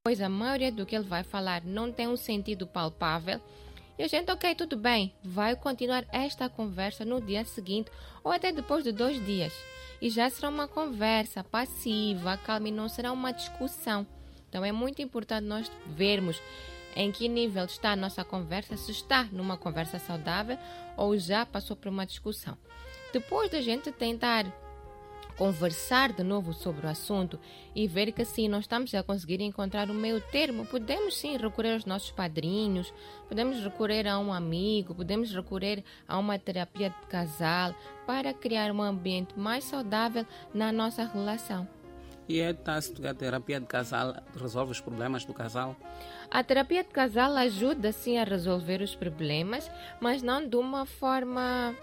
A maioria do que ele vai falar não tem um sentido palpável. E a gente, ok, tudo bem, vai continuar esta conversa no dia seguinte ou até depois de 2 dias. E já será uma conversa passiva, calma, e não será uma discussão. Então é muito importante nós vermos em que nível está a nossa conversa, se está numa conversa saudável ou já passou por uma discussão. Depois da gente tentar conversar de novo sobre o assunto e ver que sim, nós estamos a conseguir encontrar o meio termo, podemos sim recorrer aos nossos padrinhos, podemos recorrer a um amigo, podemos recorrer a uma terapia de casal para criar um ambiente mais saudável na nossa relação. E é tácito que a terapia de casal resolve os problemas do casal? A terapia de casal ajuda sim a resolver os problemas, mas não de uma forma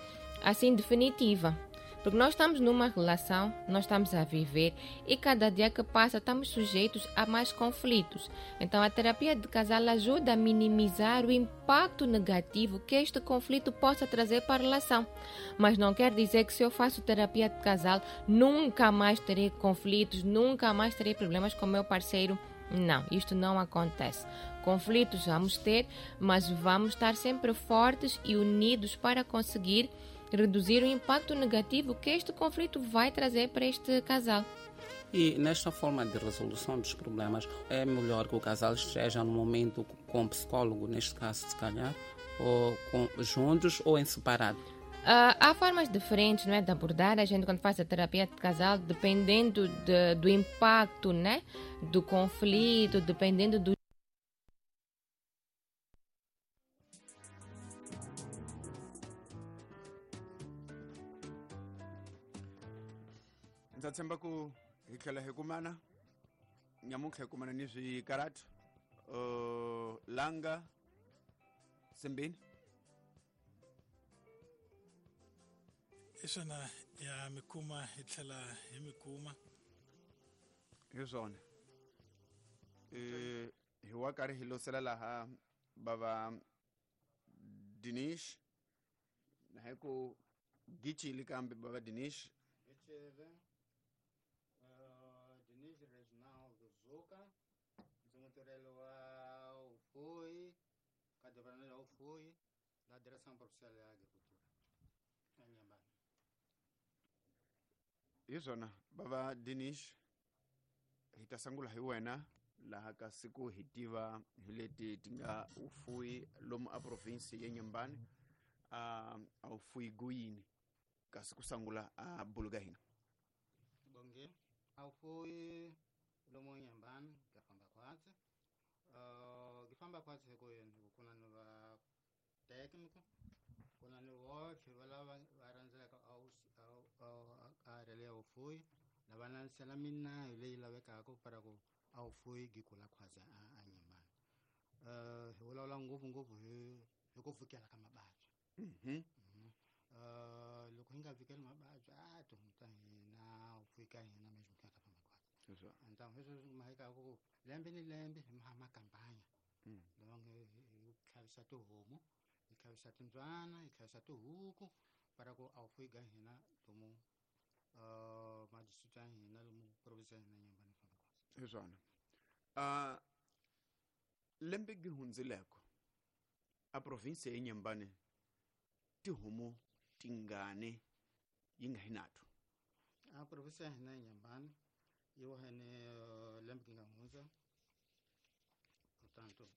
assim definitiva. Porque nós estamos numa relação, nós estamos a viver e cada dia que passa estamos sujeitos a mais conflitos. Então a terapia de casal ajuda a minimizar o impacto negativo que este conflito possa trazer para a relação. Mas não quer dizer que se eu faço terapia de casal nunca mais terei conflitos, nunca mais terei problemas com o meu parceiro. Não, isto não acontece. Conflitos vamos ter, mas vamos estar sempre fortes e unidos para conseguir reduzir o impacto negativo que este conflito vai trazer para este casal. E nesta forma de resolução dos problemas, é melhor que o casal esteja no momento com o psicólogo, neste caso, se calhar, ou juntos ou em separado? Há formas diferentes, não é, de abordar a gente quando faz a terapia de casal, dependendo do impacto, né, do conflito, dependendo do Ndza tshemba ku hi tlhela hi kumana nyamuntlha hi kumana ni swikaratu langa simbini hi swona ya mi kuma hi tlhela hi mi kuma hi swona hi wa karhi hi losela laha bava Dinish na hi ku gicili kambe bava Dinish Dinish Reginaldo Zuka, ndzi mutirheli wa vufuwi ka departamento ya vufuwi la Direção Provincial ya Agricultura eNyembani. Hi swona bava Dinish, hi ta sungula hi wena laha ka siku hi tiva hi leti ti nga vufuwi lomu a province ya Nyembani, a vufuwi guyini kasi ku sungula a bulu ka hina. Bonge, a vufuwi lomu Nyembani ka famba khwatsi. Ki famba khwatsi hi ku yini? Hi ku ku na ni va técnico, ku na ni votlhe va lava va rhandzaka a area leya vufuwi, lava landzelela minayo leyi lavekaka para ku a vufuwi byi kula khwatsi a Nyembani. Hi vulavula ngopfungopfu hi ku vhikela ka mavabyi. Loko hi nga vhikeli mavabyi a tihomu ta hina vufuwi ka hina mesmo ku nga ta famba khwatsi. Então hi sweswo swi mahekaku ku lembe ni lembe hi maha makampanya lawa nge hi tlhavisa tihomu, hi tlhavisa timbyana, hi tlhavisa tihuku para ku a vufuwi ka hina lomu madistrict ya hina lomu province ya hina Nyembani famba khwatsi. Hi swona. Lembe gi hundzileko a province ya Nyembani tihomu tingani yi nga hi nato? A province ya hina ya Nyembani yi wahene lembe gi nga hundza, portanto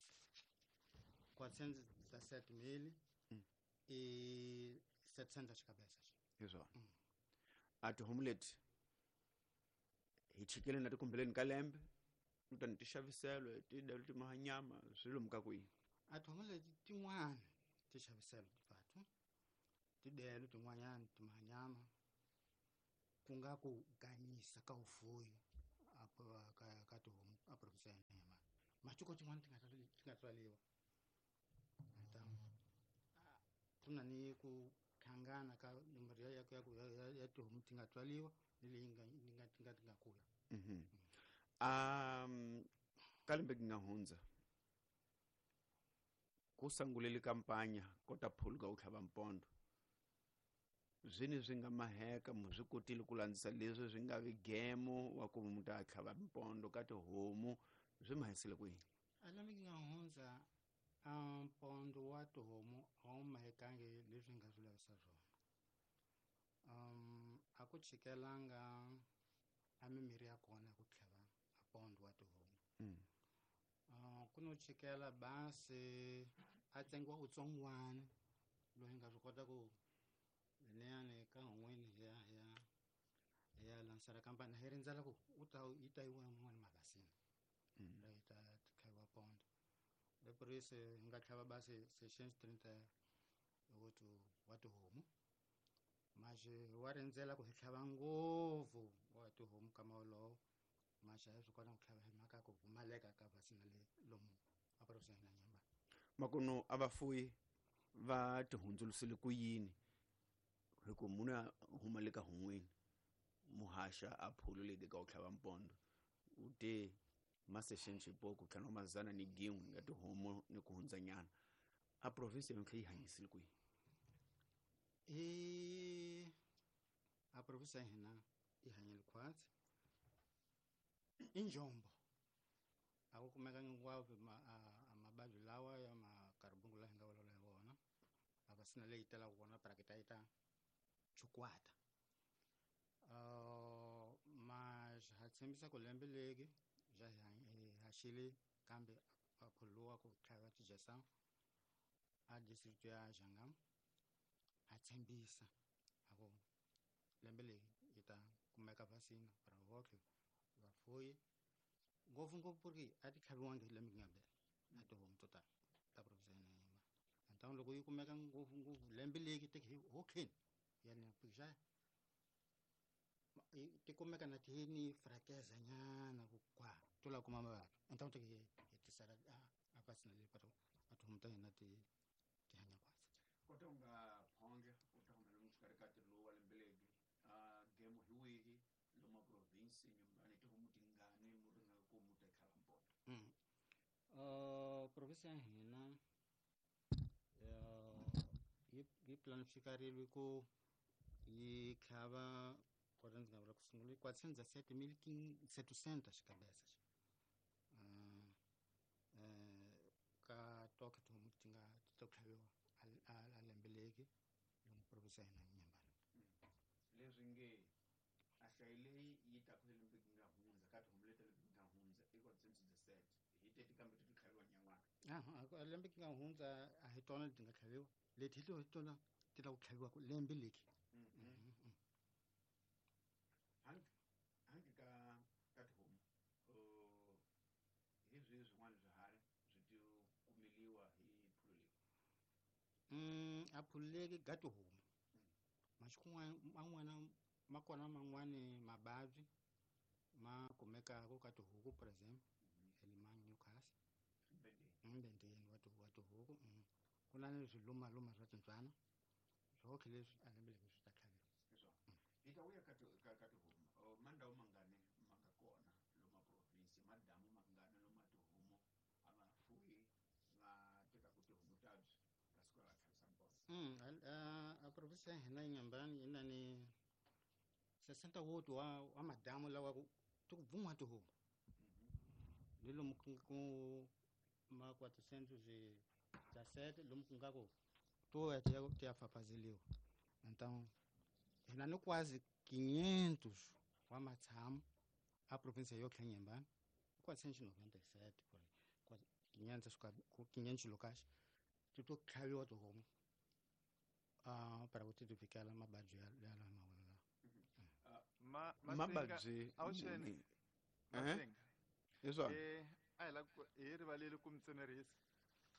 417 mil e 700 cabeças. Hi swona. A tihomu leti hi chikele na tikumbeleni ka lembe kutani ti xaviselwa ti dalo ti maha nyama swi lomu ka kwihi? A tihomu leti tin'wana ti xaviselwa tipatu, tidelo tin'wanyana ti maha nyama, ku nga ku ganyisa ka vufuwi ka tihomu a province ya hina Nyembani. Matiko tin'wana ti nga tswaliwa. Então ku na ni ku hlangana ka nomboro ya tihomu ti nga tswaliwa ni leyi ti nga kula. Ka lembe gi nga hundza ku sungulile kampanya kota phuluka u tlhava mpondo, swini swi nga maheka mu swi kotile ku landzisa leswi swi nga vi gemo wa ku mu ta tlhava mpondo ka tihomu Swi mi hanyisile ku yini? A lembe ki nga hundza mpondo wa tihomu a wu mahekangi leswi hi nga swi lavisa swona. A ku chikelanga a mimirhi ya kona ya ku tlhava a pondo wa tihomu. Ku no chikela basi a tsengiwa wutsongwana loyi hi nga swi kota ku leyani ka hun'wini hi ya hi ya hi ya lansara kampani hi rindzela ku u ta yi ta yiwa yin'wana mavhasini leyi ta tlhaviwa pondo lepurisi hi nga tlhava basi sessions 38 wa tihomu maxi wa rindzela ku hi tlhava ngopfu wa tihomu kama wolowo maxi a hi swi kota ku tlhava hi mhaka ku pfumaleka ka vasina le lomu a province ya hina nyamba. Makuno a vafuyi va tihundzulusile ku yini hi ku munhu a huma le ka hun'wini muhaxa a phulu leti ka ku tlhava mpondo u te masexeni xipoko tlhanu wa mazana ni gin'we ya tihomu ni ku hundzanyana a province yontlhe yi hanyisile ku yini? I a province ya hina yi hanyile khwatsi i njombo a ku kumeka hinkwavo mavabyi lawa ya makaribungu laha hi nga vulavula hi wona a va sina leyi telaka kona parakita yi ta chukwata. Ma ha tshembisa ku lembe leki ja hi haxile kambe a phuluwa ku tlhava tijesa a district ya Jangam ha tshembisa a ku lembe leyi yi ta kumeka vasina para hotlhe vafuyi ngopfungopfu ku ri a ti tlhaviwangi lembe ku nga bela a tihomu to tala ta province ya hina Nyamba. Então loko yi kumeka ngopfungopfu lembe leki teki hi hokheni ya ni pixa ti kumeka na ti ni frakeza nyana ku kwa to la kuma mavabyi então teki hi tisela a vasina leyi para a tihomu ta hina ti ti hanya khwatsi. Kota u nga phonge u ta humela xikarhi ka ntirho lowu wa lembe legi a gemo hi wihi lomu a province nyumbani tihomu tingani mu ringa ku mu ta tlhava mpondo? Province ya hina yi planifikarile ku yi tlhava kota ndzi nga vula ku sungula 417 700 xikabesa xi. Ka toke tihomu ti nga ti ta tlhaviwa a lembe leki lomu province ya hina Nyambani. Leswi nge a hlayi leyi yi taku hi lembe nga hundza ka tihomu leti lembe nga hundza i 417 hi teti kambe ti tlhaviwa nyan'wana. A lembe nga hundza a hi tona leti nga tlhaviwa leti hi tona ti la ku tlhaviwa ku lembe leki. Hangi ka tihomu hi swihi swin'wana swiharhi swi ti kumeliwa hi phulu leyi? A phulu leki ga tihomu masiku man'wana ma kona man'wani mavabyi ma kumekaka ka tihuku for example hi ma Newcastle mbendeni wa tihuku ku na ni swilumaluma swa tintswana swotlhe leswi a lembe leswi swi ta tlhaviwa. Hi ta vuya ka tihomu mandhawu mangani ma nga kona lomu a province madamu mangani lomu a tihomu a va fuyi va tekaku tihomu ta byi ka siku ra tlhavisa mpondo? A province ya hina Nyambani yi na ni 68 wa madamu lawa ku ti ku bvun'wa tihomu ni lomu ku ma 417 lomu ku nga ku to ya ti ya fafazeliwa. Então hina ni quase 500 wa matshamo a province yotlhe Nyambani 497 por aí 500 locais ti to tlhaviwa tihomu para ku ti ti fikela mavabyi ya lawa mavula lawa. Mavabyi awuxeni hi swona a hi la ku hi rivaleli ku mi tsemerisa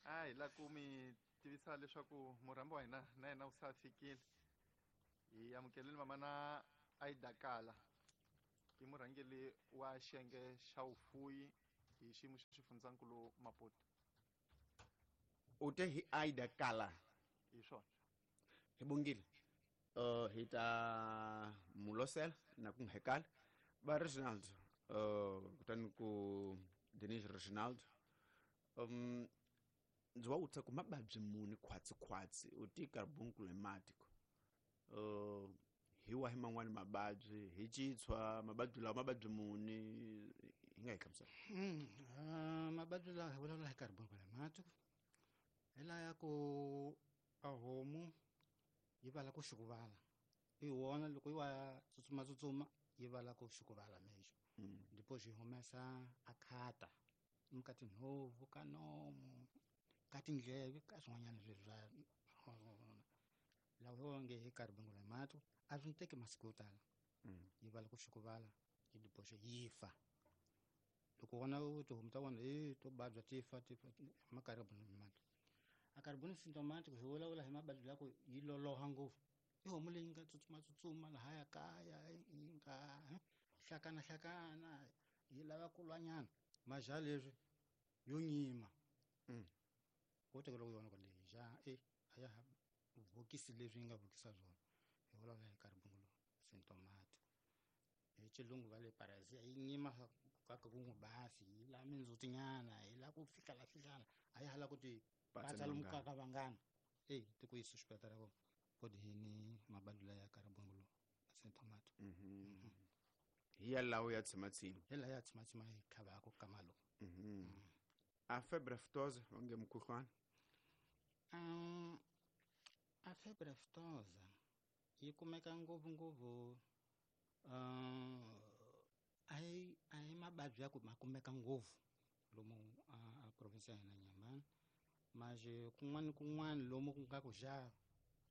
a hi la ku mi tivisa leswaku murhambi wa hina na yena u sa fikile. Hi amukeleni mama na Aida Kala i murhangeri wa xiyenge xa vufuyi hi xiyimo xa xifundzankulu Maputo. U te hi Aida Kala hi swona hi bongile hi ta mulosela na ku nghekala va Reginald kutani ku Denise Reginald ndzi wa vutisa ku mavabyi muni khwatsi u ti carbunculohematiko hi wahi man'wani mavabyi hi citshwa mavabyi lawa mavabyi muni hi nga hi hlamusela? Mavabyi lawa hi vulavula hi carbunculomatic hi laya ku a homu yi vala ku xukuvala i wona loko yi wa tsutsuma tsutsuma yi vala ku xukuvala mexo depois yi humesa a khata ka tinhovu ka nomu ka tindleve ka swin'wanyana leswi swa lawa hi nge hi carbunculomatic a swi teki masiku yo tala yi vala ku xukuvala yi depois yi fa. Loko wona tihomu ta wona e to babya ti fa ti fa ma carbunculomatic. A carbon symptomatic hi vulavula hi mavabyi ya ku yi loloha ngopfu. I homu leyi nga tsutsuma tsutsuma lahaya kaya yi nga hlakana hlakana yi lava ku lwanyana maja leswi yo nyima. Wo tekela ku yona ku leyi ja e a ya ha vhokisi leswi yi nga vhokisa swona. Hi vulavula hi carbunculo symptomatic. Hi xilungu va le parazia yi nyima kaka ku n'wi basi yi la mindzhutinyana yi la ku fika la fihlana a ya hala ku ti patsa lomu ka ka vangana e ti ku yisa xipatara ko kodi hini mabadi la ya carbunculo symptomatic. Hi ya lawo ya tshimatsima. Hi la ya tshimatsima hi tlhavaka ka malo. A febre aftosa onge mukhuhlwana. A febre aftosa yi kumeka ngopfu ngopfu a hi mavabyi ya ku ma kumeka ngopfu lomu a province ya hina Nyamani. Maje kun'wana kun'wana lomu ku nga ku xa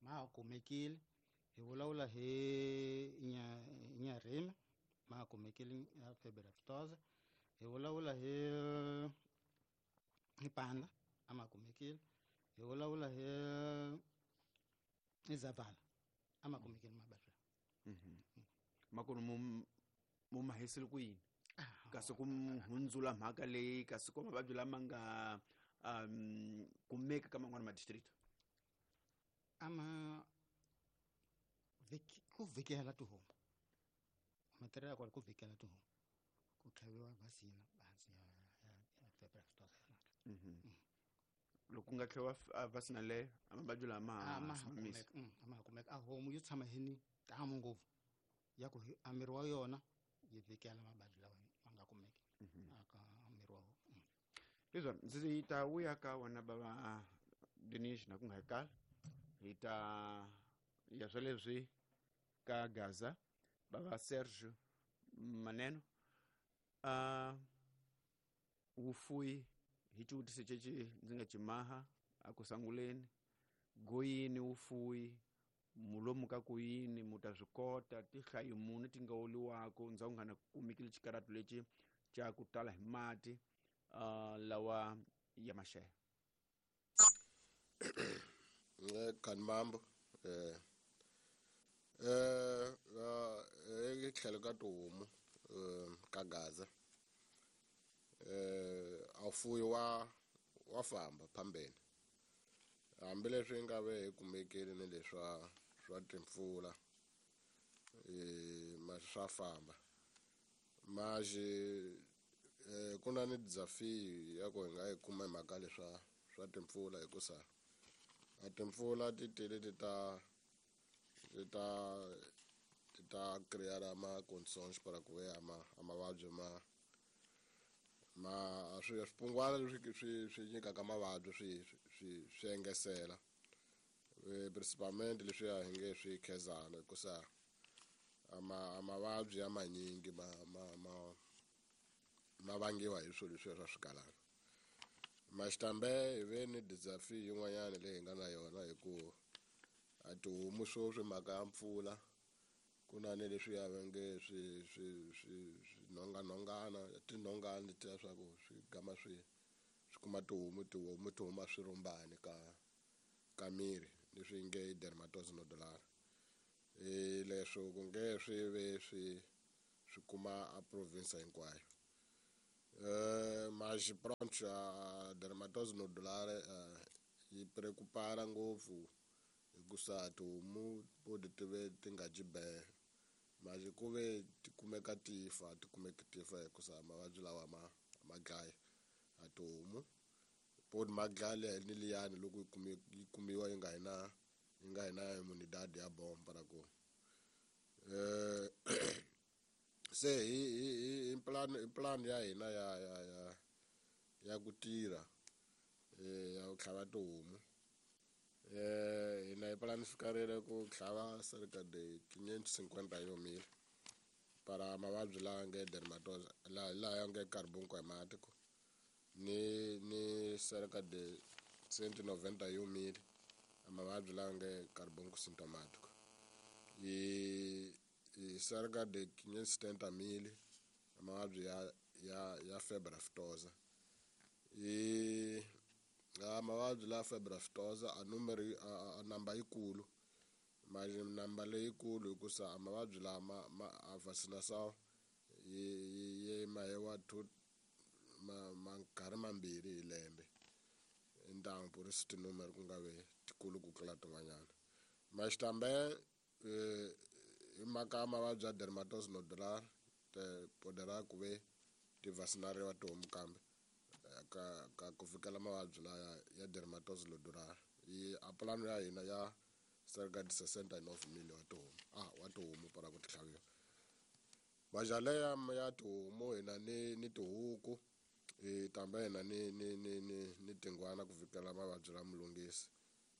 ma kumekile hi vulavula hi Nyarimi ma kumekile ya febre aftosa. Hi vulavula hi Panda a ma kumekile. Hi vulavula hi Zavala a ma kumekile mavabyi. Makulu mu mahisile ku yini kasi ku hundzula mhaka leyi kasi ko mavabyi lama nga kumeka ka man'wana ma district ama ku vhikela tihomu matirhelo ya kona ku vhikela tihomu ku tlhaviwa vasina hansi ya febre aftosa. Loko ku nga tlhaviwa vasina leyo a mavabyi lama a ma kumeka a homu yo tshama hi ni tamu ngopfu ya ku a miri wa yona yi vhikela mavabyi lawa ma nga kumeki aka miri wa homu. Leswi ndzi ta vuya ka wena bava Dinish na ku nga kala hi ta ya swa leswi ka Gaza bava Sergio Maneno wufuyi hi xivutiso ceci ndzi nga cimaha a ku sanguleni goyini wufuyi mulomu ka ku yini mu ta swi kota tihlayo muni ti nga oliwako ndzhaku nga na kumekile xikaratu lexi xa ku tala hi mati lawa ya maxele. Kanmambo tlhelo ka tihomu ka Gaza a fuyi wa famba phambeni hambileswi nga ve hi kumekile ni leswa swa timpfula ma swa famba maji ku na ni dzafi ya ku hi nga yi kuma hi mhaka leswa swa timpfula hikusa a timpfula ti tele ti ta crear ma conditions para ku ve a mavabyi ma swi swipungwana leswi swi nyikaka mavabyi swi engesela principalmente leswi ya hi nge swi khezana hikusa a mavabyi ya manyingi ma vangiwa hi swilo leswiya swa swigalana. Maxitambe hi ve ni dizafi yin'wanyana leyi hi nga na yona hi ku a tihomu sweswi mhaka ya mpfula ku na ni leswiya va nge swi nhonganhongana tinhongani letiya swa ku swi gama swi kuma tihomu ti huma swirhumbani ka miri leswi nge dermatosis nodular. Leswo ku nge swi ve swi kuma a province hinkwayo. Mas pronto a dermatose nodular yi preocupara ngopfu hikusa tihomu podi ti ve ti nga dyi be mas ku ve ti kumeka ti fa ti kumeka ti fa hikusa mavabyi lawa ma dlaya a tihomu podi ma dlaya ni liyani loko yi kumiwa yi nga hi na immunidade ya bomba ra ku se hi plan ya hina ya ya ku tirha ya ku tlhava tihomu. Hina hi planifikarile ku tlhava cerca de 551 mil para mavabyi lawa nge dermatose, laha ya nge carbunco hemático, ni cerca de 191 mil mavabyi lawa nge carbunco sintomático, i cerca de 570 mil mavabyi ya febre aftosa. I a mavabyi la febre aftosa a numero a namba yikulu, manje namba leyikulu hikusa a mavabyi lama ma a vacinação yi mahiwa two ma nkarhi mambirhi hi lembe. Então por isso tinúmero ku nga ve tikulu ku tlula tin'wanyana. Mas também hi mhaka ya mavabyi ya dermatose nodular te poderá ku ve ti vacinariwa tihomu kambe ka ku fikela mavabyi laya ya dermatose nodular. I a plano ya hina ya cerca de 69 mil wa tihomu, wa tihomu para ku ti tlhaviwa. Majale ya tihomu hina ni tihuku hi tambe hina ni tingwana ku fikela mavabyi la mulungisi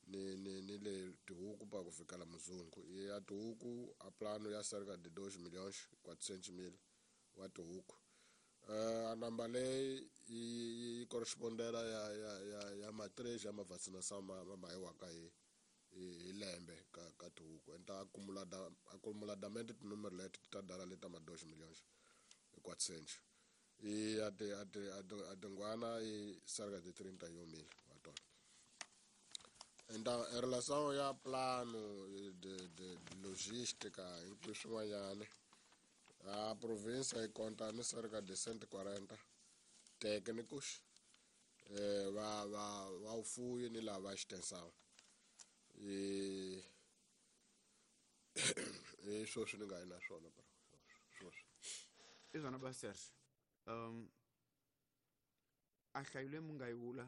ni le tihuku pa ku fikela muzungu. Ya tihuku a plano ya cerca de 2 milhões 400 mil wa tihuku. A namba leyi yi correspondela ya ma 3 ya ma vacinação ma mahiwaka hi lembe ka tihuku. Então acumuladamente tinúmero leti ti ta dala leta ma 2 milhões e 400. E a tingwana i cerca de 31 mil wa tona. Então em relação ya plano de logística hinkwaswo swin'wanyana, a província yi conta ni cerca de 140 técnicos va vufuwi ni lava extensão. I sweswi ni nga yi na swona sweswi. I swona ba Serge, a nhlayo leyi mu nga yi vula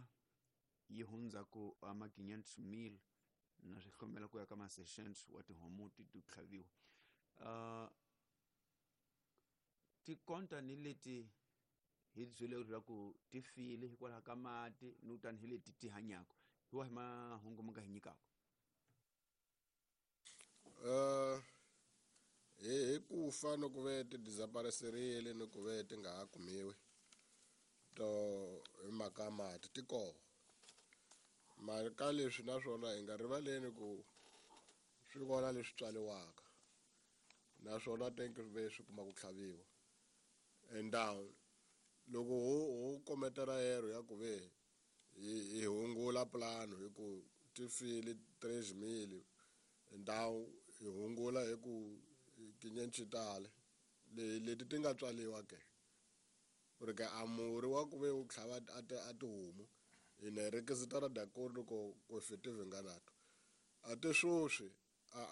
yi hundza ku ama 500 mil na swi hlomela ku ya ka ma 600 wa tihomu ti tlhaviwa, ti konta ni leti hi byele leswaku ti file hikwalaho ka mati ni tani hi leti ti hanyaka, hi wahi mahungu mi nga hi nyikaka? Hi ku fa ni ku ve ti desaparecerile ni ku ve ti nga ha kumiwi to hi mhaka ya mati ti koho. Mara ka leswi naswona hi nga rivaleni ku swi kona leswi tswaliwaka naswona tenke ve swi kuma ku tlhaviwa. Então loko ho kometela erro ya ku ve hi hungula plano hi ku ti file 3 mil, então hi hungula hi ku tinyenci tale leti ti nga tswaliwa ke porque a murhi wa ku ve wu tlhava a tihomu hi ne requisitar de acordo com efetivo enganato. Até sweswi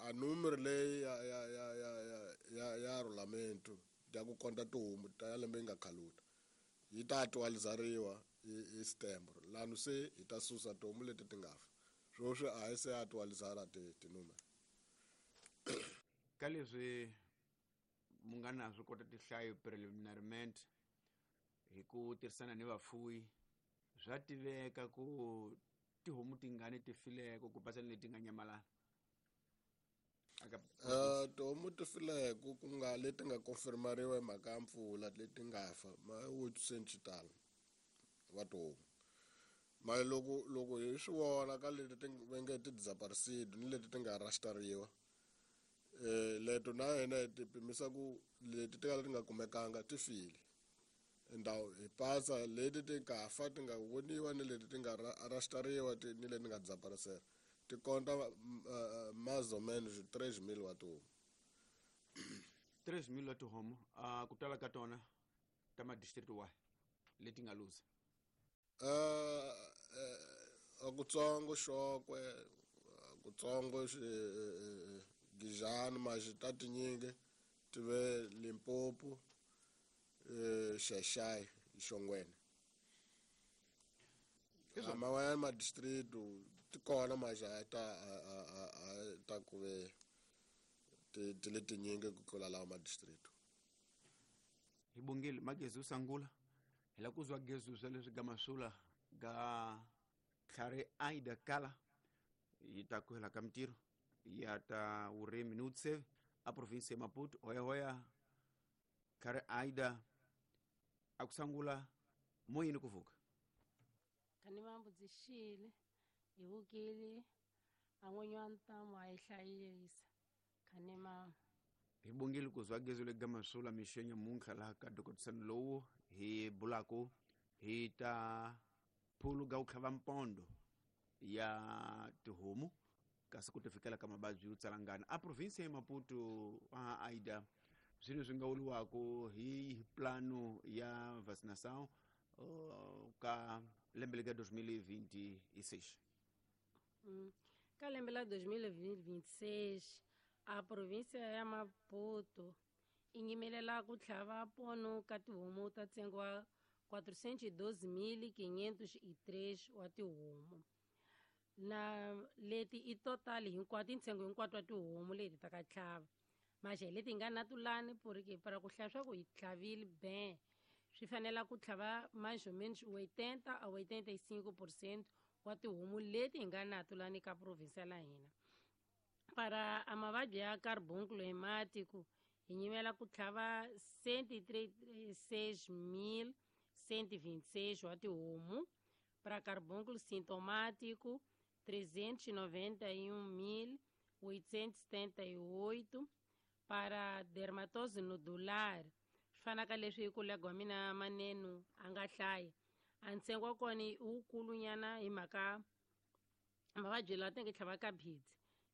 a número leyi ya regulamento ya ku konta tihomu ta ya lembe yi nga khaluta yi ta actualizariwa hi setembro lano se hi ta susa tihomu leti ti nga fa. Sweswi a hi se actualizara tinúmero. Ka leswi mu nga na swi kota tinhlayo preliminarmente hi ku tirhisana ni vafuwi, swa tiveka ku tihomu tingani ti fileko ku pasa ni leti nga nyamalala aka? Tihomu ti fileko ku nga leti nga confirmariwa hi mhaka ya mpfula leti nga fa ma 800 tala wa tihomu. Mara loko hi swi vona ka leti ti va nge ti desaparecido ni leti ti nga rastariwa, leto na hina hi ti pimisa ku leti ti ka ti nga kumekanga ti file. Então hi pasa leti ti nga fa ti nga voniwa ni leti ti nga rastariwa ni leti nga desaparecer ti konta mais ou menos 3 mil wa tihomu. 3 mil wa tihomu, ku tala ka tona ta ma-district wahi leti nga luza? Akutsongo Xokwe, kutsongo Gijani, maxi ta tinyingi ti ve Limpopo, Xai-Xai, Xongweni. Man'wanyana ma-district ti kona maxi a ta a ta ku ve ti le tinyingi ku tlula lawa ma-district. Hi bongile magezi usangula. Hi la ku zwa gezu swa leswi ga masula ga tlhare Aida Kala yi ta ku hela ka mintirho ya ta vurimi ni vutsevi a provinsi ya Maputo. Hoyahoya tlhare Aida a ku sangula moyeni ku vuka. Kani mambudzixile hi vukile a n'winyi wa ntamu a yi hlayisa khani ma hi bongile ku zwa gezu le ga masula mixo nyamuntlha laha ka dokotisano lowu hi bulaku hi ta phulu ga ku tlhava mpondo ya tihomu kasi ku ti fikela ka mavabyi yo tsalangana a provinsi ya Maputo. A Aida, swilo swi nga vuriwaka hi plano ya vaccination ka lembe leka 2026? Ka lembe la 2026 a província ya Maputo i nyimelela ku tlhava pono ka tihomu ta ntsengo wa 412.503 wa tihomu, na leti i total hinkwato, i ntsengo hinkwato wa tihomu leti ta ka tlhava. Maxe leti nga na tulani, porque para ku hlaya swa ku hi tlhavile ben, swi fanela ku tlhava mais ou menos 80 a 85% wa tihomu leti hi nga na tulani ka provinsia la hina. Para a mavabyi ya carbúnculo hemático hi nyimela ku tlhava 136.126 wa tihomu, para carbúnculo sintomático 391.878, para dermatose nodular, swi fanaka leswi kolega wa mina Manenu a nga hlaya, a ntsengo wa kona i wukulunyana hi mhaka mavabyi lawa tenge tlhava ka bidzi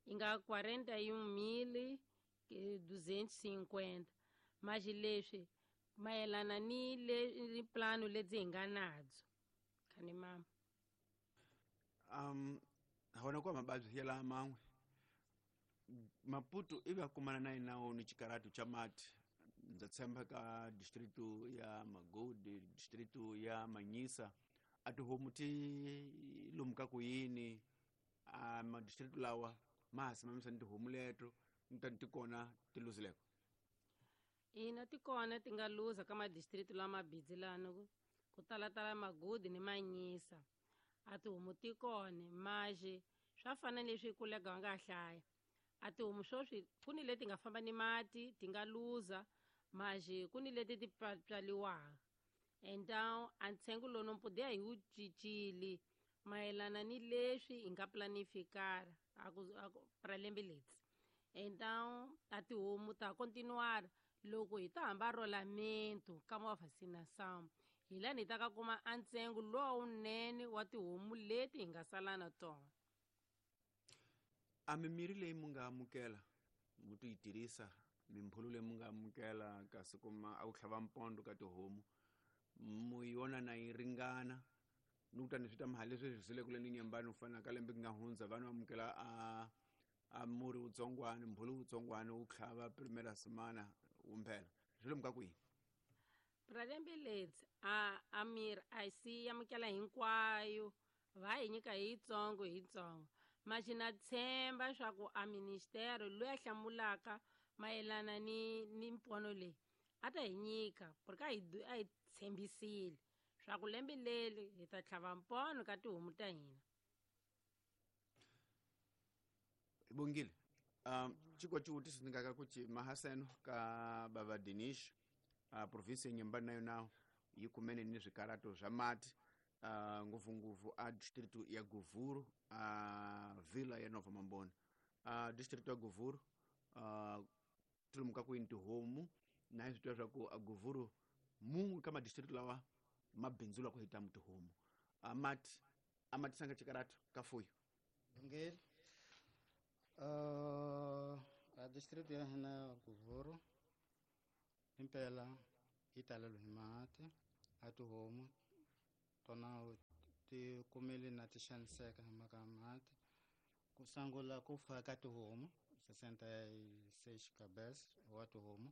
yi nga 41.250. Maxi leswi mayelana ni le ni plano lebyi hi nga nabyo, khani mama. Hona kwa mababyi ya la man'we Maputo ivi a kumana na yinawo ni xikaratu cha mati. Ndza tshemba ka distrito ya Magodi, distrito ya Manyisa, a tihomu ti lomuka ku yini a madistrito lawa ma ha simamisa ni tihomu leto ni tani ti kona ti luzileko? Ina, ti kona ti nga luza ka madistrito lama bidzi lano ku talatala Magodi ni Manyisa. A tihomu ti kona, maxe swa fana leswi kolega wa nga hlaya, a tihomu swoswi ku ni leti nga famba ni mati ti nga luza, maxe ku ni leti ti tswaliwaka. Então a ntsengo lowu no podia hi wu cincile mayelana ni leswi hi nga planifikara a ku para lembe leri. Então a tihomu ta continuar loko hi ta hamba rolamento ka ma vacinação, hi lani hi ta ka kuma a ntsengo lowunene wa tihomu leti hi nga sala na tona. A mimirhi leyi mu nga amukela mu ti yi tirhisa, mimpfulu leyi mu nga amukela kasi kuma a ku tlhava mpondo ka tihomu, mu yona na yi ringana ni ku tani swi ta mahali leswi swi zile kule ni nyambani ku fana ka lembe ku nga hundza, vanhu amukela a murhi wutsongwani, mbhulu wutsongwani wu tlhava primera semana wumphela, swi lomu ka kwihi? Pra lembe leri a mirhi a si amukela hinkwayo, va hi nyika hi yitsongo hi yitsongo. Maxi na tshemba swa ku a ministero loyi a hlamulaka mayelana ni mpono leyi a ta hi nyika, porque a hi tshembisile swa ku lembe leri hi ta tlhava mpono ka tihomu ta hina. Bongile, chikwa xivutiso ni nga ka ku ci mahaseno ka bava Dinish, provinsi ya Nyambani nayo nawo yi kumene ni swikarato swa mati, ngopfungopfu a distrito ya Govuro, a vila ya Nova Mambona. Distrito ya Govuro, tilomu ka kwini tihomu na hi swi tiva swa ku a Govuro mun'we ka madistrito lawa ma bindzula ku hita tihomu, mati a ma tisanga xikarato ka fuyo? Bongile. A distrito ya hina Govuro impela yi talelwe hi mati, a tihomu tona ti kumile na ti xaniseka hi mhaka ya mati. Ku sungula ku fa ka tihomu 66 cabeças wa tihomu.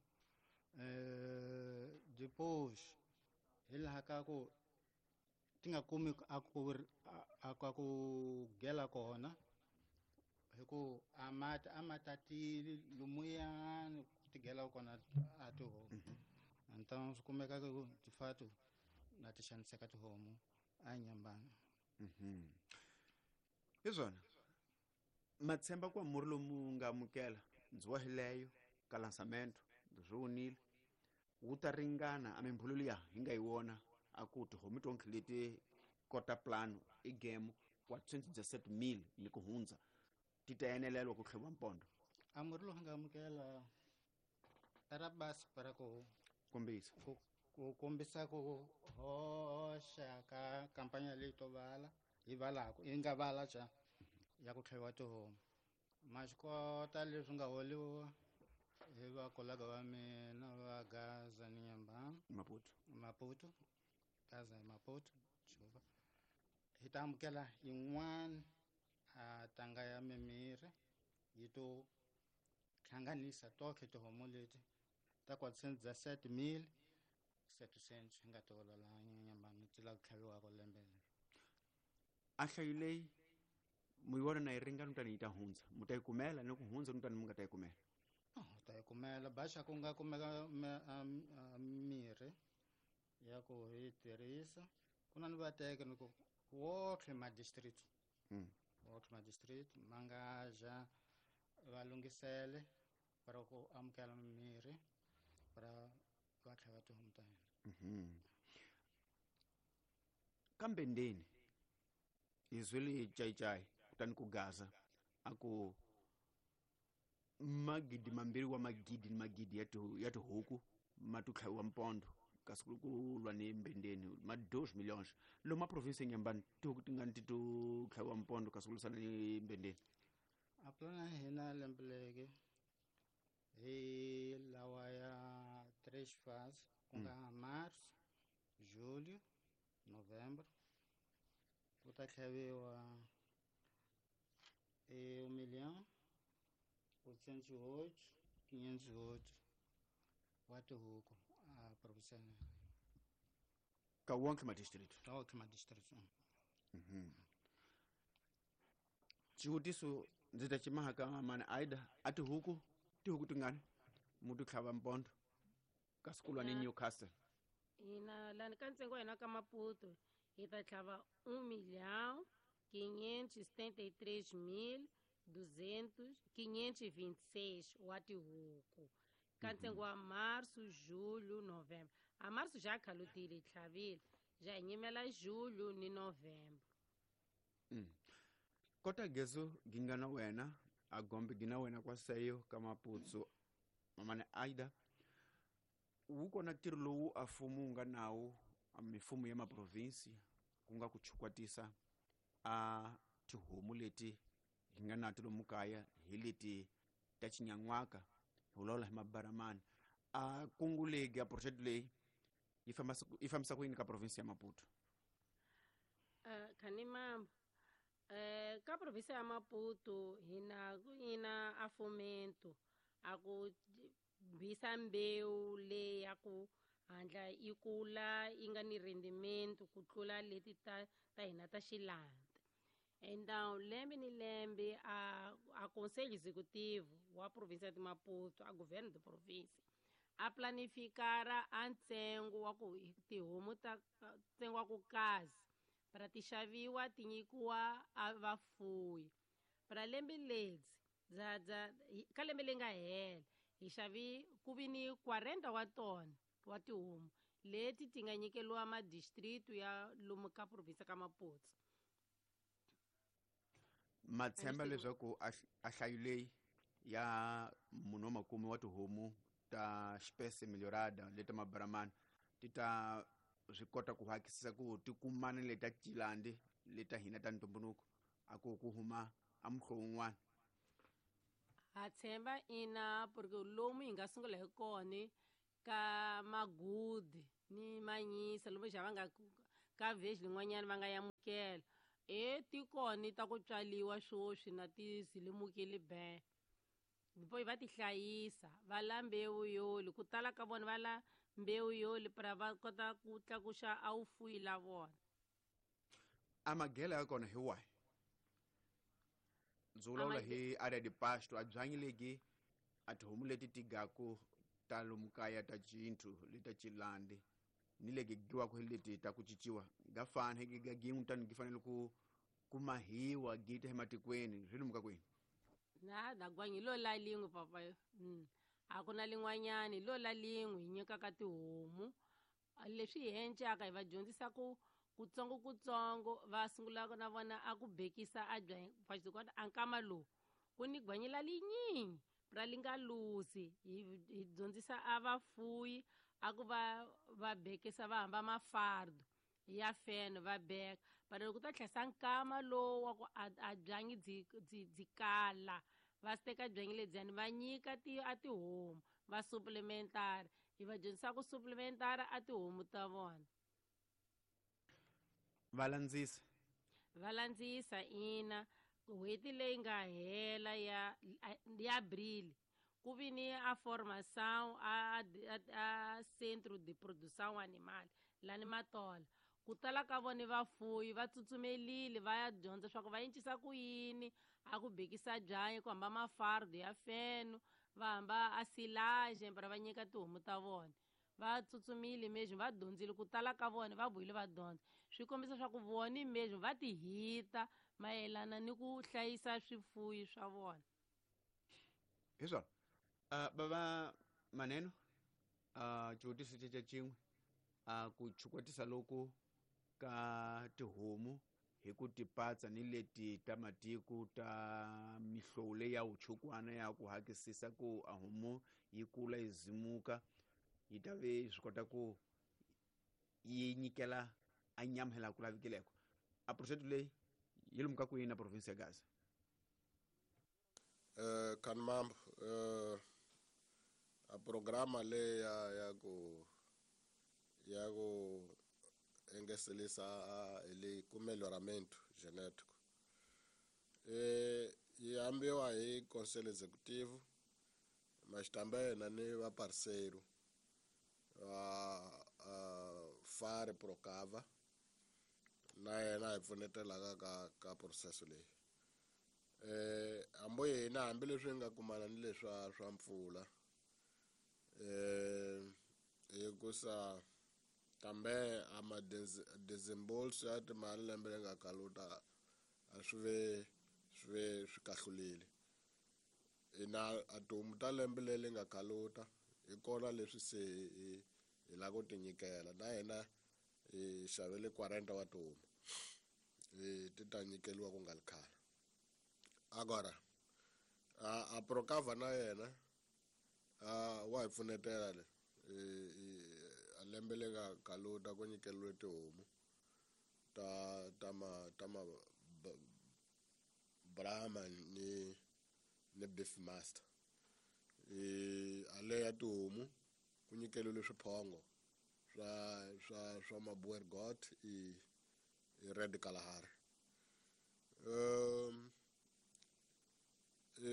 Depois hi laha ka ku ti nga kumi a ku gela kona, hi ku a mati a ma tatile lomuyani ku tigela kona a tihomu. Então swi kumeka ku de fato na ti xaniseka tihomu a Nyambani. Hi swona matshemba ku murhi lomu nga amukela ndzi wa hileyo ka lansamento swi vonile wu ta ringana a mimbhulo liya hi nga yi wona a ku tihomu tonke leti kota plano i game wa 270,000 ni ku hundza ti ta enelelwa ku tlheviwa mpondo. A murhi lowu nga amukela ra basi para ku kombisa ku kombisa ku hoxa ka kampanya leyi to vala yi valaku yi nga vala ca ya ku tlheviwa tihomu. Ma swi kota leswi nga holiwa hi vakolaga va mina va Gaza ni Nyambani Maputo Gaza hi Maputo Juba hi ta amukela yin'wana a tanga ya mimirhi yi to hlanganisa toke tihomu leti ta 417,700 hi nga ti hola laha Nyambani ti lava ku tlhaviwaka lembe leri. A nhlayo leyi mu yi vona na yi ringana kutani yi ta hundza mu ta yi kumela ni ku hundza kutani mu nga ta yi kumela? U ta yi kumela baxa ku nga kumeka mirhi ya ku hi tirhisa ku na ni vateke ni ku wotlhe ma district wotlhe ma district ma nga ja va lunghisele para ku amukela mirhi para va tlhava tihomu ta hina. Kambe ndeni hi zwele cayicayi kutani ku Gaza a ku magidi mambirhi wa magidi ni magidi ya tihuku ma to tlhaviwa mpondo kasi ku lwa ni mbendeni ma 2 millions lomu a province ya Nyambani tihuku ti nga ni ti to tlhaviwa mpondo kasi ku lwisana ni mbendeni. A pulani ya hina lembe leki hi lawa ya 3 fase ku nga March, Julho, Novembro ku ta tlhaviwa 1,808,508 wa tihuku a province ka wonke ma district. Ka wonke ma district. Xivutiso ndzi ta ximaha ka mani Aida a tihuku tingani mu ti tlhava mpondo kasi ku lwa ni Newcastle? Hina lani ka ntsengo wa hina ka Maputo hi ta tlhava 1,573,526 wa tihuku ka ntsengo wa Março, Julho, Novembro. A Março já khalutile hi tlhavile ja hi nyimela Julho ni Novembro. Kota gezo gi nga na wena a gombe gi na wena kwa seyo ka Maputo mamane Aida wu kona ntirho lowu a mfumo wu nga nawu a mifumo ya maprovinsi ku nga ku chukwatisa a tihomu leti hi nga na ti lomu kaya hi leti ta xinyan'waka hi vulavula hi mabaramani a kungu legi a project leyi yi fambisa ku yini ka province ya Maputo? Khanimambo ka province ya Maputo hina ku ina a fomento a ku bisa mbewu leyi ya ku handla yi kula yi nga ni rendimento ku tlula leti ta hina ta xilanda. Então lembe ni lembe a conselho executivo wa província de Maputo, a governo de província, a planificara a ntsengo wa ku tihomu ta ntsengo wa ku kazi para ti xaviwa ti nyikiwa a vafuwi. Para lembe ledzi ka lembe leri nga hela hi xavi ku vi ni 40 wa tona wa tihomu leti ti nga nyikeliwa madistritu ya lomu ka province ka Maputo. Matshemba leswaku a hlayo leyi ya munhu wa makume wa tihomu ta xipese melhorada leta mabaramani ti ta swi kota ku hakisisa ku ti kumana leta cilandi leta hina ta ntumbuluko a ku ku huma a muhlovo wun'wana. Ha tshemba ina porque lomu hi nga sungula hi kona ka magudi ni manyisa lomu xa va nga ka village lin'wanyana va nga yamukela e tikoni ta ku tswaliwa swoswi na ti zilimukile be depois va ti hlayisa va la mbewu yoli ku tala ka vona va la mbewu yoli para va kota ku tlakuxa a wu fuyi la vona. A magela ya kona hi wahi? Ndzi vulavula hi area de pasto a byanyi legi a tihomu leti ti gaku ta lomu kaya ta cinthu leta cilandi ni le gigiwaka hi leti ta ku cinciwa ga fana hi ga gin'we tani gi fanele ku mahiwa gi ta ematikweni swi lumuka kwini na dagwanyi hi lo la lin'we papa. A ku na lin'wanyani hi lo la lin'we hi nyikaka tihomu leswi hi encaka hi va dyondzisa ku kutsongo kutsongo va sungula na vona a ku bekisa a bya a nkama lowu ku ni gwanyi la linyingi ra li nga luzi hi dyondzisa a vafuyi a ku va bekisa va hamba mafardo ya feno va beka but loko ta tlhesa nkama lowu wa ku a byanyi byi kala va teka byanyi lebyiyani va nyika a tihomu va supplementary hi va dyondzisa ku supplementary a tihomu ta vona va landzisa ina n'hweti leyi nga hela ya Abril ku vi ni a formação a centro de produção animal lani Matola ku tala ka vona vafuyi va tsutsumelile va ya dyondza swa ku va encisa ku yini a ku bekisa byanyi ku hamba mafardo ya feno va hamba a silage para va nyika tihomu ta vona va tsutsumile mesmo va dyondzile ku tala ka vona va vuyile va dyondza swi kombisa swa ku vona mesmo va ti hita mayelana ni ku hlayisa swifuyi swa vona. Hi swona bava Maneno xivutiso xa xin'we ku chukwatisa loku ka tihomu hi ku tipatsa ni leti ta matiko ta mihlovo leyi ya vuchukwana ya ku hakisisa ku a homu yi kula yi zimuka yi ta ve swi kota ku yi nyikela a nyama hi laha ku lavikileko a project leyi yi lumuka kwini na province ya Gaza? Kanmambo a programa leyi ya ku engeselisa ele ku melhoramento genético yi ambiwa hi conselho executivo mas também na ni va parceiro Fare Procava na yena hi pfunetelaka ka processo leyi. Hambi hina hambileswi hi nga kumana ni leswa swa mpfula hikusa kambe a ma desembolso ya timali lembe leri nga kaluta a swi ve swi kahlulile. Hina a tihomu ta lembe leri nga kaluta hi kona leswi se hi lava ku ti nyikela na hina hi xavele 40 wa tihomu ti ta nyikeliwa ku nga ri khale. Agora a Procava na yena wa hi pfunetela le a lembe leri nga kaluta ku nyikeliwe tihomu ta ma Brahma ni Beef Master. A le ya tihomu ku nyikeliwe swiphongo swa Maboer Goat i Red Kalahari.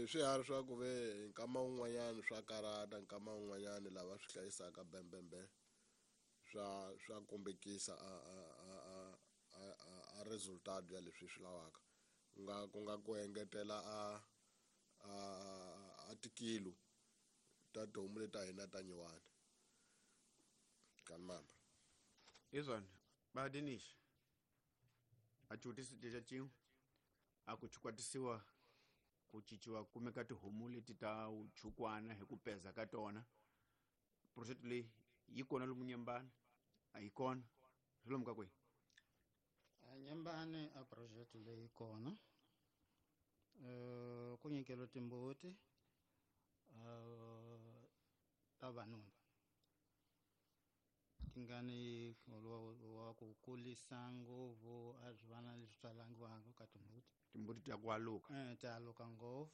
Swiharhi swa ku ve nkama wun'wanyani swa karata nkama wun'wanyani lava swi hlayisaka bembembe swa kombekisa a resultado ya leswi swi lavaka ku nga ku engetela a tikilo ta tihomu leti ta hina ta nyiwana. Kanmamba hi swona va Dinish a xivutiso xa xin'we a ku chukwatisiwa ku cinciwa kumeka tihomu leti ta vuchukwana hi ku peza ka tona project leyi yi kona lomu Nyembani a yi kona swi lomu ka kwihi? Nyembani a project leyi kona ku nyikeliwa timbuti ta vanuna ti nga ni wa ku kulisa ngopfu a swi vana leswi tswalangiwaka ka timbuti. Timbuti ta ku aluka ti aluka ngopfu.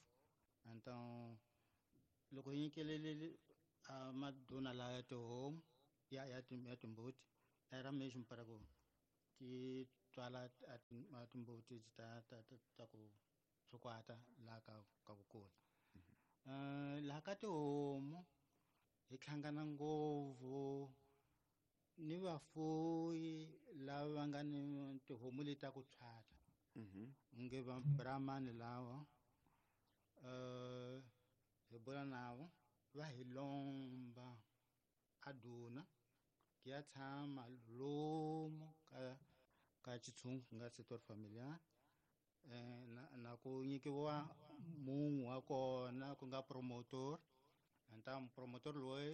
Então loko hi nyikelele a maduna laya tihomu ya timbuti era mesmo para ku ti tswala a timbuti ta ku tshukwata laha ka ku kula. Laha ka tihomu hi hlangana ngopfu ni vafuyi lava va nga ni tihomu leti ta ku tshwata nge va Brahmani lawa hi bula navo va hi lomba a duna Ki ya tshama lomu ka xitshungu ku nga secteur familiar, na ku nyikiwa munhu wa kona ku nga promotor. Enta promotor loyi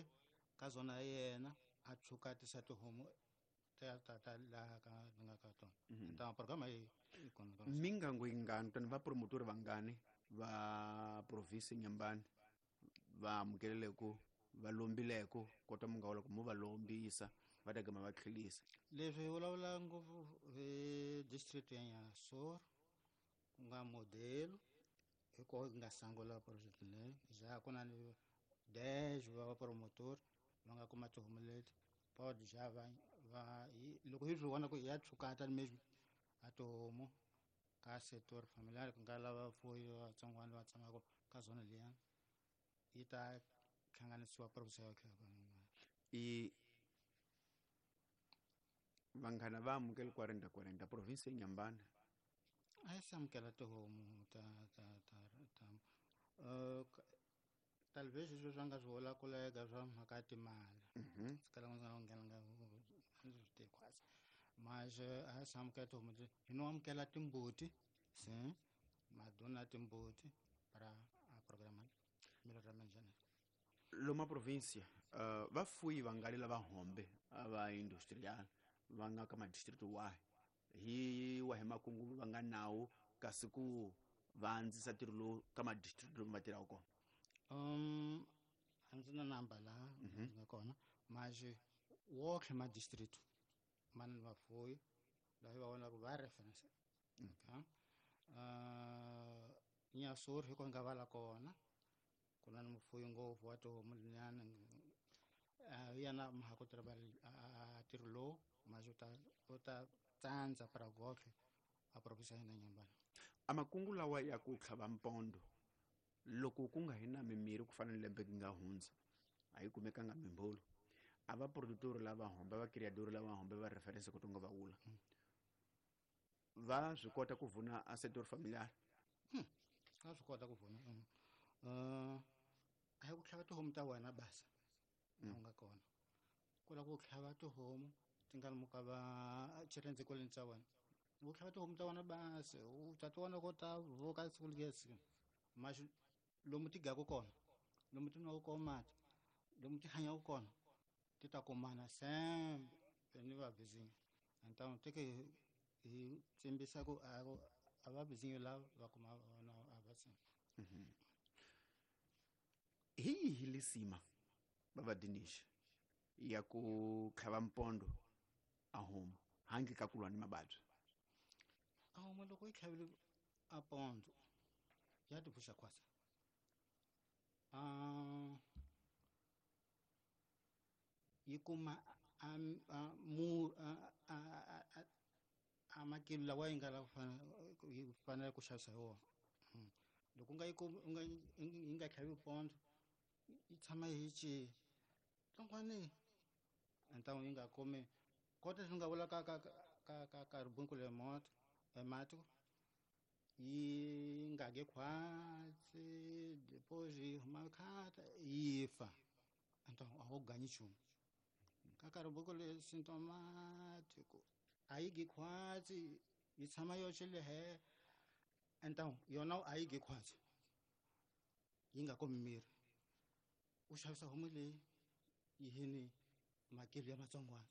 ka zona ya yena a tshuka a tisa tihomu ta laha ka nga ka tona. Enta programa yi kona. Mingango yingani tani va promotor vangani va province Nyambani va amukeleleko va lombileko kota munga loko mo va lombisa va ta gama va tlhelisa? Leswi hi vulavula ngopfu hi district ya Nyasoro ku nga modelo hi koho hi nga sungula project leyi. Ja ku na ni 10 va promotor va nga kuma tihomu leti pod ja va loko hi swi vona ku ya tshukata mesmo a tihomu ka secteur familiar ku nga lava fuyi vatsongwana va tshamaka ka zona liya yi ta hlanganisiwa province ya i vanghana va amukele 40 province ya Nyambani a yi amukela tihomu ta ta ta ta talvez leswi swa nga swi vula kulega swa mhaka ya timali sikala nga nghena nga swi tivi khwatsi mas a yi amukela tihomu hi no amukela timbuti se maduna timbuti para a programa melhoramento. Loma província vafuyi vangali lava hombe va industrial va nga ka madistrict wahi hi wahi makungu va nga nawo kasi ku va andzisa ntirho lowu ka madistrict lomu va tirhaka kona? A ndzi na namba laha ndzi nga kona mas wonkhe madistrict ma na vafuyi lava va vonaka va reference. Okay. Nyasoro hi ko nga vala kona ku na mufuyi ngopfu wa tihomu linyana yena mhaka ku tirha ntirho lowu mas u ta tsandza para gotlhe a province ya hina Nyambani. A makungu lawa ya ku tlhava mpondo loko ku nga hi na mimirhi ku fana ni lembe nga hundza a yi kumekanga mimbolo a va productor lava hombe va criador lava hombe va reference ku tonga va wula va swi kota ku vuna a secteur familiar? Va swi kota ku vuna. A hi ku tlhava tihomu ta wena basa u nga kona ku lava ku tlhava tihomu ti nga muka va xirhendze kwaleni ta wena u tlhava tihomu ta wena basa u ta ti vona ko ta vuka siku lesi mas lomu ti gaku kona lomu ti nwaka kona mati lomu ti hanyaka kona ti ta kumana sembe ni va vizinyo. Então teke hi tsimbisa ku a va vizinyo lava va kuma vona a va tsimba. Hi yihi lisima bava Dinesh ya ku tlhava mpondo a homu handle ka ku lwa ni mavabyi? A homu loko yi tlhavile a pondo ya ti pfuxa khwatsa. Yi kuma a makilo lawa yi nga lava yi fanele ku xavisa hi wona. Loko u nga yi yi nga tlhavi pondo yi tshama yi ci tlongwani então yi nga kumi kota swi nga vula ka ka ka ka ka ribunku le moto emati yi nga ge khwatsi depois yi huma khata yi fa então a wu ganyi nchumu ka ka ribunku le symptomatic a yi gi khwatsi yi tshama yoxe le he então yona a yi gi khwatsi yi nga kumi miri u xavisa homu leyi yi hini makilo ya matsongwana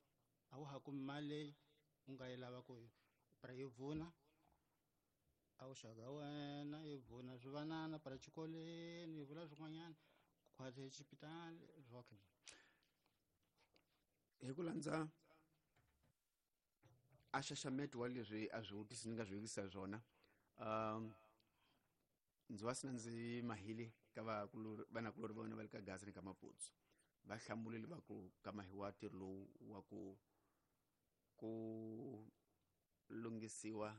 a wu ha kumi mali leyi u nga yi lava ku para yi vuna a wu xaga wena yi vuna swivanana para xikolweni yi vula swin'wanyana khwatsi exipitali swoke. Hi ku landza a xaxameto wa leswi a swi vutisi ni nga swi vekisa swona ndzi va sina ndzi mahile ka vanakulori va wena va le ka Gaza ni ka Maputsu va hlamulile va ku ka mahiwa ntirho lowu wa ku lunghisiwa